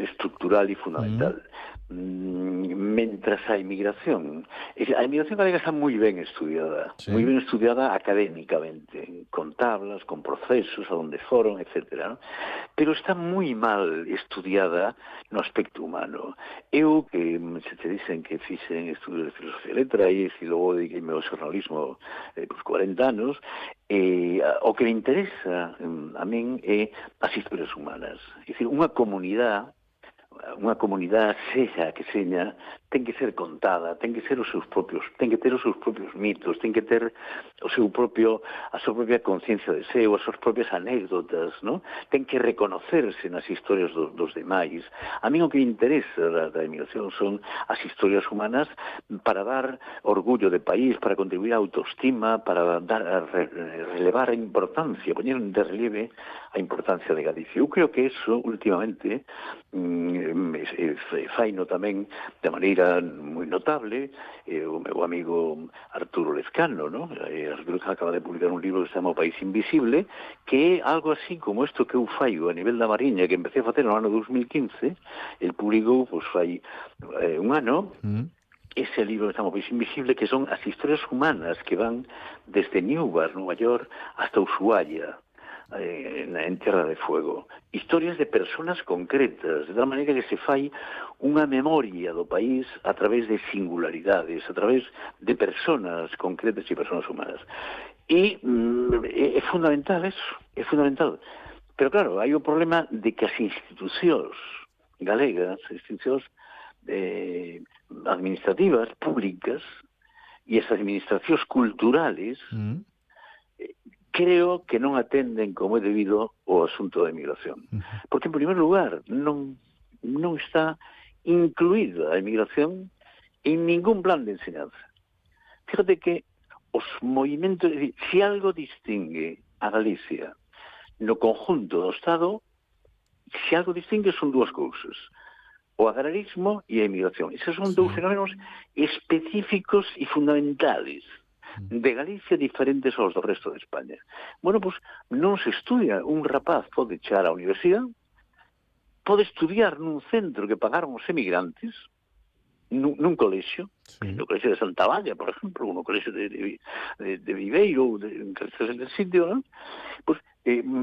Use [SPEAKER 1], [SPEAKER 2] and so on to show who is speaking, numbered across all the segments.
[SPEAKER 1] estructural e fundamental. Mentras a emigración galega está moi ben estudiada, moi ben estudiada académicamente, con tablas, con procesos, a donde foron, etcétera, ¿no? Pero está moi mal estudiada no aspecto humano. Eu, que se te dicen que fixen estudios de filosofía e letra, e logo dediqueime ao xornalismo por 40 anos, o que me interesa a min é as historias humanas. É dicir, unha comunidade sexa que seña, ten que ser contada, ten que ter os seus propios mitos, ten que ter a súa propia conciencia de seu, as súas propias anécdotas, ¿no? Ten que reconocerse nas historias dos demais. A mí o que me interesa da emigración son as historias humanas para dar orgullo de país, para contribuir á autoestima, para relevar a importancia, poñer de relieve a importancia de Galicia. Eu creo que eso, últimamente, faino tamén de maneira moi notable o meu amigo Arturo Lezcano, ¿no? Arturo acaba de publicar un libro que se chama O País Invisible, que é algo así como isto que eu faio a nivel da Mariña, que empecé a facer no ano 2015. El publicou, pois, fai un ano, ese libro que se chama O País Invisible, que son as historias humanas que van desde Newbar, Nova York, hasta Ushuaia, en Tierra de Fuego. Historias de personas concretas, de tal maneira que se fai unha memoria do país a través de singularidades, a través de personas concretas e personas humanas. E é fundamental eso, é fundamental. Pero claro, hai o problema de que as institucións galegas, as institucións administrativas, públicas, e as administracións culturales, creo que non atenden como é debido o asunto da emigración. Porque, en primer lugar, non está incluída a emigración en ningún plan de enseñanza. Fíjate que os movimentos, se algo distingue a Galicia no conjunto do Estado, se algo distingue son dúas cousas: o agrarismo e a emigración. Esos son dous fenómenos específicos e fundamentales de Galicia, diferentes aos do resto de España. Bueno, pois non se estudia. Un rapaz pode echar á universidade, pode estudiar nun centro que pagaron os emigrantes, nun colexio, no colexio de Santa Valla, por exemplo, no colexio de Viveiro, ou en calquera sitio, non? Pois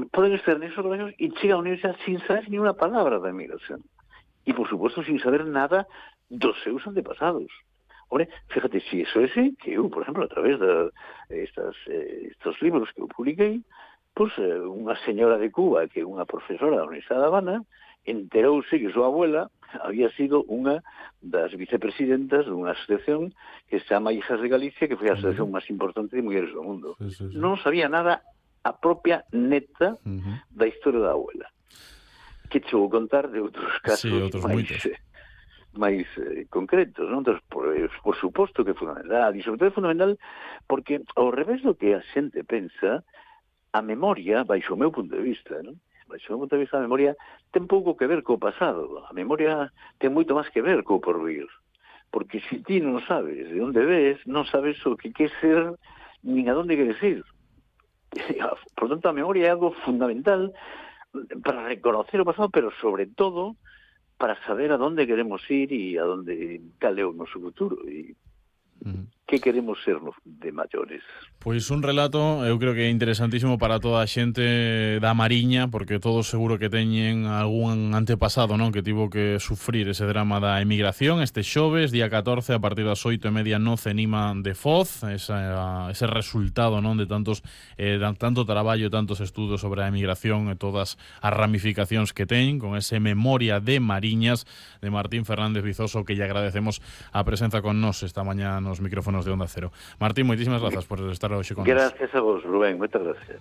[SPEAKER 1] poden estar nesos colexios e chega á universidade sin saber ni unha palabra da emigración. E, por suposto, sin saber nada dos seus antepasados. Hombre, fíjate, si eso é así, que eu, por exemplo, a través de estos libros que eu publiquei, pois unha señora de Cuba, que é unha profesora da Universidade de Habana, enterouse que súa abuela había sido unha das vicepresidentas dunha asociación que se chama Hijas de Galicia, que foi a asociación máis importante de mulleres do mundo. Non sabía nada a propia neta da historia da abuela. Que che vou contar de outros casos máis concretos, non? Entón, por suposto que é fundamental, e sobre todo é fundamental porque, ao revés do que a xente pensa, a memoria, baixo o meu punto de vista, non? Baixo o meu punto de vista, a memoria ten pouco que ver co pasado. A memoria ten moito máis que ver co porvir. Porque se ti non sabes de onde ves, non sabes o que quer ser, nin a donde queres ir. Por tanto, a memoria é algo fundamental para reconocer o pasado, pero sobre todo para saber a dónde queremos ir e a dónde cal é o noso futuro e que queremos ser de maiores.
[SPEAKER 2] Pois un relato, eu creo que é interesantísimo para toda a xente da Mariña, porque todos seguro que teñen algún antepasado, non, que tivo que sufrir ese drama da emigración. Este xoves, día 14, a partir das 8:30 no Cenima de Foz, ese resultado, non, de tanto traballo, tantos estudos sobre a emigración e todas as ramificacións que ten, con ese Memoria de Mariñas de Martín Fernández Vizoso, que lle agradecemos a presenza con nós esta mañá nos micrófonos de Onda Cero. Martín, moitísimas grazas por estar hoxe con nós.
[SPEAKER 1] Gracias a vos, Rubén, moitas gracias.